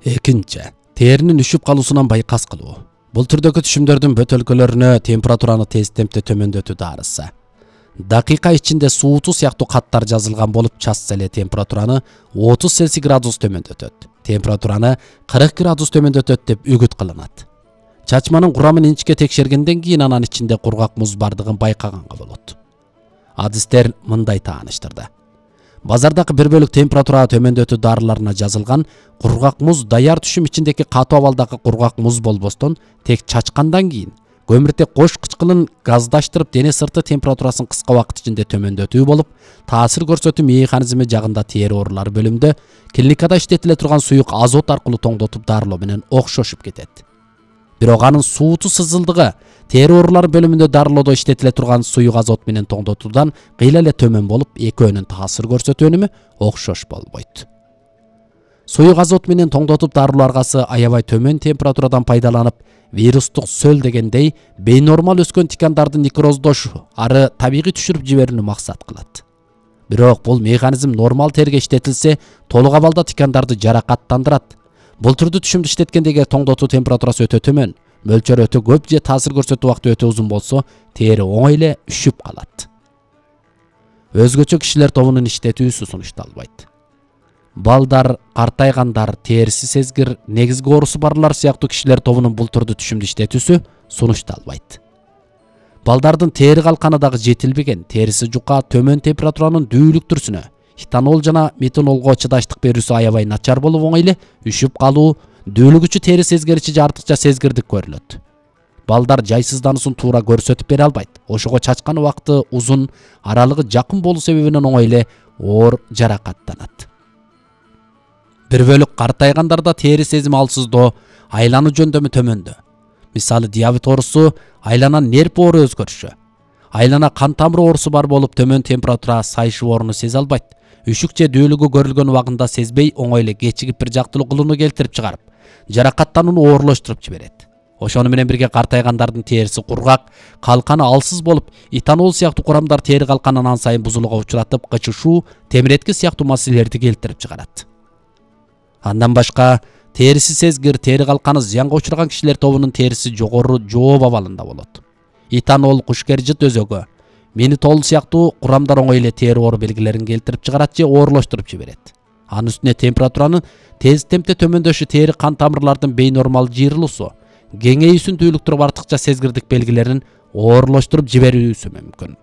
Экинчи, теринин үшүп калуусунан байкас кылуу. Бул түрдөгү түшүмдөрдүн бөтөлкөлөрүнө температураны тез темпте төмөндөтүү дарысы. Дакыйка ичинде сууту сыяктуу каттар жазылган болуп, чачса эле температураны 30 Цельсий градус төмөндөтөт. Температураны 40 градус төмөндөтөт деп үгүт кылынат. Чачманын курамын инчикке текшергенден кийин анан ичинде кургак муз бардыгын байкаганга болот. Адистер мындай тааныштырды. Базардагы бир бөлүк температура төмөндөтүү дарыларына жазылган кургак муз даяр түшүм ичиндеги катуу абалдагы кургак муз болбостон, тек чачкандан кийин көмүртек кош кычкылын газдаштырып дене сырты температурасын кыска убакыт ичинде төмөндөтүү болуп, таасир көрсөтүү механизми жагында тери оорулары бөлүмүндө клиникада иштетиле турган суюк азот аркылуу тоңдотуп дарылоо менен окшошуп кетет. Бирок анын сууту сызылдыгы тери оорулары бөлүмүндө дарылоодо иштетиле турган суюк азот менен тоңдотуудан кыйла эле төмөн болуп, экөөнүн таасир көрсөтүү өнүмү окшош болбойт. Суюк азот менен тоңдотуп дарылоо аргасы аябай төмөн температурадан пайдаланып, вирустук сөл дегендей бейнормал өскөн тикандарды некроздош, ары табигый түшүрүп жиберүүнү максат кылат. Бирок бул механизм нормал терге иштетилсе, толук абалда тикандарды жаракаттандырат. Бул түрдүү түшүмдү иштеткенде тоңдотуу температурасы өтө төмөн, мөлчөрү өтө көп же таасир көрсөтүү убакыты өтө узун болсо, тери оңой эле үшүп калат. Өзгөчө кишилер тобунун иштетүүсү сунушталбайт. Балдар, картайгандар, териси сезгир, негизги оорусу барлар сыяктуу кишилер тобунун бул түрдүү түшүмдү иштетүүсү сунушталбайт. Балдардын тери калканы дагы жетилбеген, териси жука, төмөн температуранын дүүлүк түрсүнө, этанол жана метанолго чыдаштык берүүсү аябай начар болуп, оңой эле үшүп калуу, дүүлүгүчү тери сезгиричи же артыкча сезгирдик көрүлөт. Балдар жайсыздануусун туура көрсөтүп бере албайт. Ошого чачкан убакыты узун, аралыгы жакын болуу себебинен оңой эле оор жаракаттанат. Бир бөлүк картайгандарда тери сезими алсыздоо, айлануу жөндөмү төмөндө. Мисалы диабет оорусу, айланан нерв оору өзгөрүшү. Айлана кан тамыры оорусу бар болуп, төмөн температура сайышып ооруну сезе албайт. Үшүк же дүүлүгү көрүлгөн убагында сезбей, оңой эле кечигип бир жактылуу кылууну келтирип чыгарып, жаракаттанууну оорлоштуруп жиберет. Ошону менен бирге картайгандардын териси кургак, калканы алсыз болуп, этанол сыяктуу курамдар тери калканын ан сайын бузулууга учуратып, кычышуу, темиретки сыяктуу маселелерди келтирип чыгарат. Андан башка, териси сезгир, тери калканы зыянга учураган кишилер тобунун териси жогору жооп абалында болот. Этанол, кушкержит өзөгү, менитол сыяктуу курамдар оңой эле тери оору белгилерин келтирип чыгарат же оорлоштуруп жиберет. Анын үстүнө температуранын тез темпте төмөндөшү тери кан тамырлардын бейнормал жыйрылуусу, кеңейүүсүн дүүлүктүрүп артыкча сезгирдик белгилерин оорлоштуруп жиберүүсү мүмкүн.